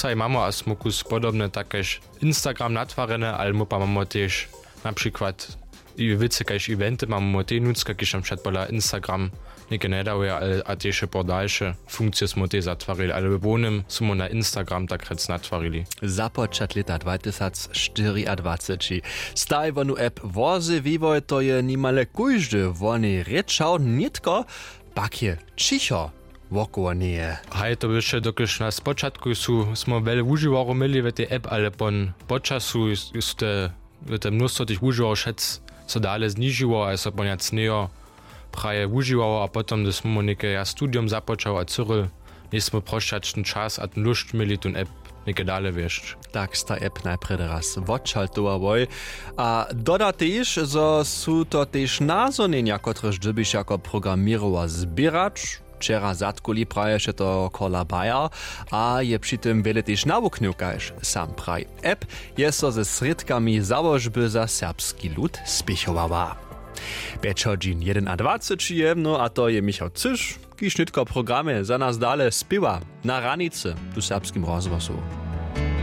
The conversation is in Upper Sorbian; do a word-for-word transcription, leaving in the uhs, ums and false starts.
Taj mamy a smokus podobne tak kaž instagram natwarjene ale my pa mamy tež na přikład wěcy kaž eventy mamy my tej nutřka kiž nam předpola instagram něke njedawja ale a tež je po dalše funkcije smy tej zatwarili ale w hłownym smy na instagram tak rjec natwarili. Započat lěta dwatysacštyriadwaceći staj wonu app wozy wiwoj to je nimale kóždy wonej rěčał nětko pak je ćicho wokoło njeje. Haj to běše dokelž na spočatku su smy wjele wužiwarjow měli w tej app ale pon po času su te w te mnóstwo tych wužiwarjow wšec so dale znižiło a je so ponjac njejo praje wužiwarjow a potom hdyž smy mu něke ja studium započał a cyril njejsmy prosćačny čas a ten lóšt měli tón app něke dale wjesć. Tak sta app najprjedy raz wotšaltowałoj a doda tež zo su to tež nazhonjenja kotrež dyrbiš jako programěrowa zběrać. Wčera zadkuli praješe to kola bayer a je při tym wjele tež nawuknył kaž sam praji. App je so ze srědkami załožby za serbski lud spěchowała. Pjeć hodźin jedenadwaceći je mno a to je michał cyš kiž nětko w programje za nas dale spěwa na hranicy tu w serbskim rozhłosu.